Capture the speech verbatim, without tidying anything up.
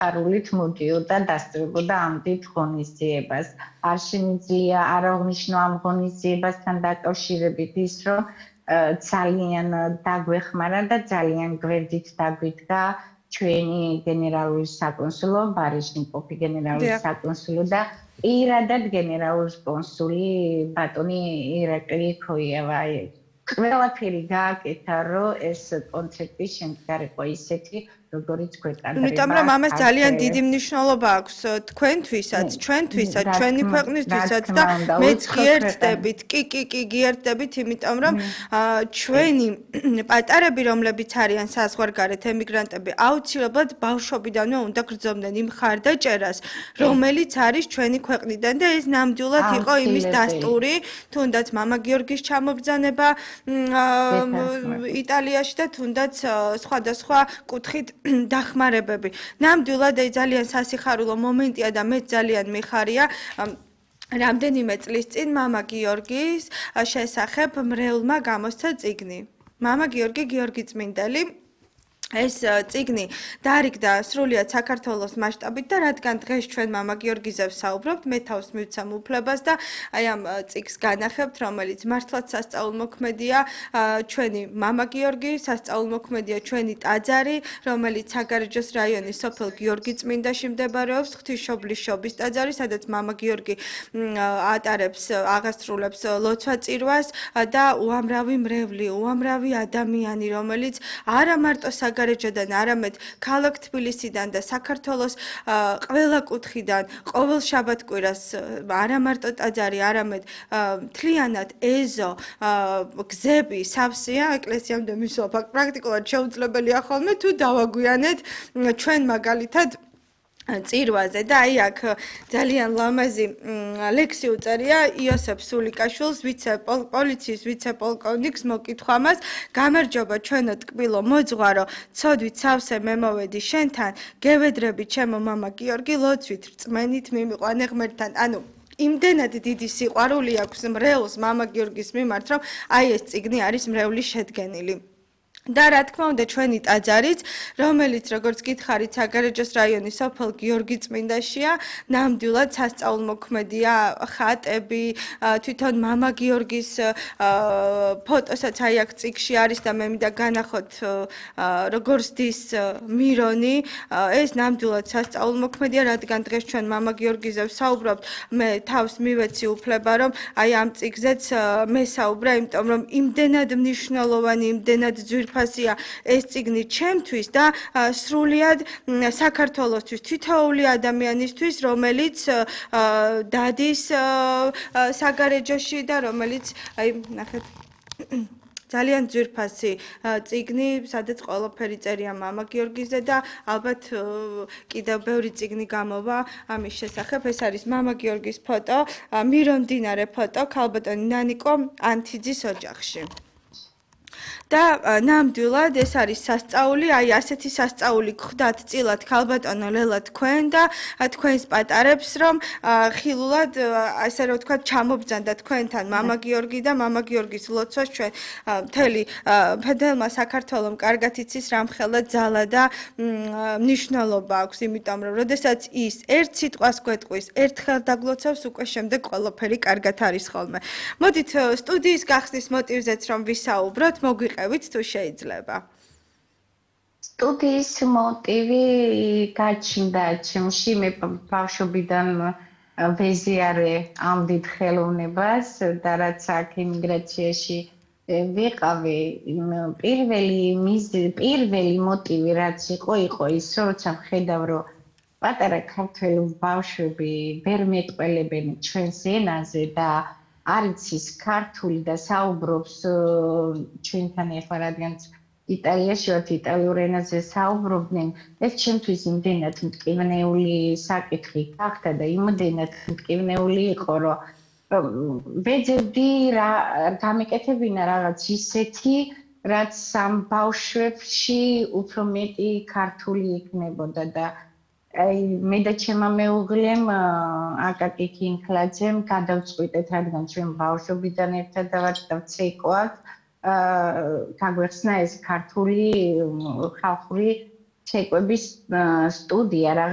სიხარულით მოდიოდა დასწრებოდა ამ დიდ ღონისძიებას. არ შემიძლია არ აღნიშნო ამ ღონისძიებასთან დაკავშირებით ის, რომ ძალიან დაგვეხმარა და ძალიან გვერდით დაგვიდგა ჩვენი გენერალური საკონსულო, ბარიშნიკოფი გენერალური საკონსულო და პირადად გენერალური კონსული ბატონი ირაკლი ქოიევა. ყველაფერი გააკეთა, რომ ეს კონცერტი შემდგარიყო ისეთი, როგორიც გვეკადრება. იმიტომ რომ ამას ძალიან დიდი მნიშვნელობა აქვს თქვენთვისაც, ჩვენთვისაც, ჩვენი ქვეყნისთვისაც და მეც გიერთდებით. კი, კი, კი, გიერთდებით, იმიტომ რომ ჩვენი პატარები, რომლებიც არიან საზღვარგარეთ ემიგრანტები, აუცილებლად ბავშვობიდანვე უნდა გრძნობდნენ იმ მხარდაჭერას, რომელიც არის ჩვენი ქვეყნიდან და ეს ნამდვილად იყო იმის დასტური, თუნდაც მამა გიორგის ჩამობრძანება იტალიაში და თუნდაც სხვადასხვა კუთხით დახმარებები. ნამდვილად ძალიან სასიხარულო მომენტია და მე ძალიან მიხარია რამდენიმე წლის წინ მამა გიორგის შესახებ მრევლმა გამოსცა წიგნი. მამა გიორგი გიორგიწმინდელი ეს წიგნი დაარიგდა სრულიად საქართველოს მასშტაბით და რადგან დღეს ჩვენ მამა გიორგიზე ვსაუბრობთ, მე თავს მივცემ უფლებას და აი ამ წიგს განახებთ, რომელიც მართლაც სასწაულმოქმედია, ჩვენი მამა გიორგი, სასწაულმოქმედია ჩვენი ტაძარი, რომელიც საგარეჯოს რაიონის სოფელ გიორგიწმინდაში მდებარეობს, ღვთისმშობლის შობის ტაძარი, სადაც მამა გიორგი ატარებს, აღასრულებს ლოცვა-წირვას და უამრავი მრევლი, უამრავი ადამიანი, რომელიც არა მარტო საგარეჯოდან, არამედ ქალაქ თბილისიდან და საქართველოს ყველა კუთხიდან ყოველ შაბათ-კვირას არა მარტო ტაძარი, არამედ მთლიანად ეზო, გზები, სავსეა ეკლესიამდე მისვლა პრაქტიკულად შეუძლებელია ხოლმე თუ დავაგვიანეთ ჩვენ მაგალითად წირვაზე და აი აქ ძალიან ლამაზი ლექსი უწერია იოსებ სულიკაშვილს, ვიცე-პოლიციის ვიცე-პოლკოვნიკს მოკითხვა მას. გამარჯობა ჩვენო ტკბილო მოძღვარო, ცოდვით სავსე მემოვედი შენთან, გევედრები ჩემო მამა გიორგი, ლოცვით რწმენით მიმიყვანე ღმერთთან. ანუ იმდენად დიდი სიყვარული აქვს მრევლს მამა გიორგის მიმართ, რომ აი ეს წიგნი არის მრევლის შედგენილი. და რა თქმა უნდა ჩვენი ტაძარიც, რომელიც როგორც გითხარით საგარეჯოს რაიონის სოფელ გიორგიწმინდაშია, ნამდვილად სასწაულმოქმედია, ხატები, თვითონ მამა გიორგის ფოტოსაც აი აქ წიგში არის და მე მინდა განახოთ როგორც დის მირონი, ეს ნამდვილად სასწაულმოქმედია, რადგან დღეს ჩვენ მამა გიორგიზე ვსაუბრობთ, მე თავს მივეცი უფლება, რომ აი ამ წიგზეც მესაუბრა, იმიტომ რომ იმდენად მნიშვნელოვანი, იმდენად ძვირფასია ფასია ეს წიგნი ჩემთვის და სრულიად საქართველოსთვის თითოეული ადამიანისთვის, რომელიც დადის საგარეჯოში და რომელიც აი ნახეთ ძალიან ძვირფასი წიგნი, სადაც ყველაფერი წერია მამა გიორგიზე და ალბათ კიდევ ბევრი წიგნი გამოვა ამის შესახებ. ეს არის მამა გიორგის ფოტო, მირონდინარე ფოტო, ქალბატონი ნანიკო ანთიძის ოჯახში. და ნამდვილად ეს არის სასწაული, აი ასეთი სასწაული გხვდათ წილად ქალბატონო ლელა თქვენ და თქვენს პატარებს, რომ ხილულად ასე რომ ვთქვათ ჩამობრძანდა თქვენთან მამა გიორგი და მამა გიორგის ლოცვას ჩვენ მთელი ფედერალმა საქართველოს კარგად იცის რამხელა ძალა და მნიშვნელობა აქვს, იმიტომ რომ როდესაც ის ერთ სიტყვას გვეტყვის, ერთხელ დაგლოცავს, უკვე შემდეგ ყველაფერი კარგად არის ხოლმე. მოდით სტუდიის გახსნის მოტივზეც რომ ვისაუბროთ, მოგვიყევით თუ შეიძლება. სტუდიის მოტივი გაჩნდა ჩემში, მე ბავშვობიდან ვეზიარე ამ დიდ ხელოვნებას და რაც აქ ემიგრაციაში ვიყავი, პირველი პირველი მოტივი რაც იყო, იყო ის, როცა ვხედავ, რომ პატარა ქართველი ბავშვები ვერ მეტყველებენ ჩვენს ენაზე და არის ის ქართული და საუბრობს ჩვენთან ახლა რადგან იტალიაში ვართ იტალიურ ენაზე საუბრობდნენ, ეს ჩემთვის იმდენად მტკივნეული საკითხი გახდა და იმდენად მტკივნეული იყო, რომ ვეძებდი რა გამეკეთებინა რაღაც ისეთი, რაც ამ ბავშვებში უფრო მეტი ქართული იქნებოდა და აი მე და ჩემმა მეუღლემ აკაკი კინკლაძემ გადავწყვიტეთ, რადგან ჩვენ ბავშვობიდან ერთად ვართ და ვცეკვავთ, გაგვეხსნა ეს ქართული ხალხური ცეკვების სტუდია, რაღაც